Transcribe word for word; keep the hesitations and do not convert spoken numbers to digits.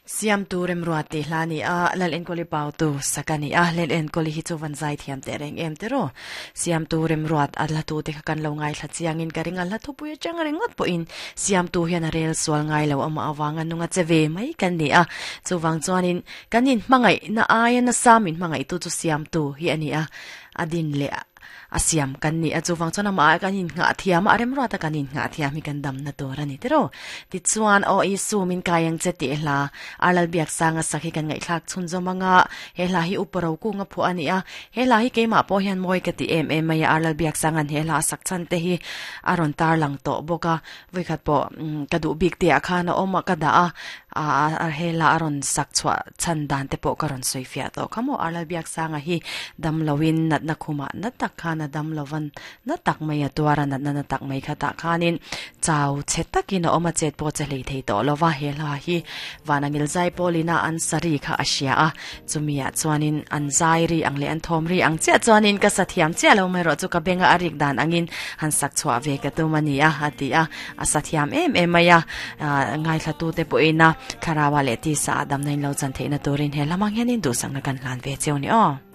Siam tu rem ruat te hla ni a lal enkoli pau tu sakani a lel enkoli hi chu van zai thiam te reng em te ro siam tu rem ruat a la tu te kha kan lo ngai thla chiang in ka ring a la thu pui chang ringot po in siam tu hian a rel sual ngai lo ama awanga nunga cheve mai kan ni a chuwang chuanin kanin hmangai na aia na samin hmangai tu chu siam tu hi ani a adin le asiam kan ni a chuwang chuan ama kan in nga thiam a rem ruat a kan in nga thiam hi kan dam na tur ani tero ti chuan o i su min kayang che ti hla alal biak sanga sakhi kan ngai thlak chhun zomanga he hla hi uparo ku nga phu ani a he hla hi keima po hian moi ka ti em em mai alal biak sangan he hla sak chan te hi aron tar lang to boka vikhat po ka du bik te a khana oma ka da a a he la aron sak chwa chan dan te po karon soifia to khamo alal biak sanga hi dam lowin nat na khuma na tak khana dam lovan na tak mai a tuara na na tak mai kha ta khanin chau chetakin oma chet po che lei thei to lova he la hi wanangil zai polina an sari kha asia a chumia chuanin an zai ri ang le an thom ri ang che chuanin ka sathiam che lo mai ro chu ka benga arik dan angin han sak chwa ve ka tu mani a ati a a sathiam em em maya ngai thla tu te po ina kharawa le ti sa dam nain lo chan theina turin he lamang hianin du sang na kan hlan ve cheu ni o.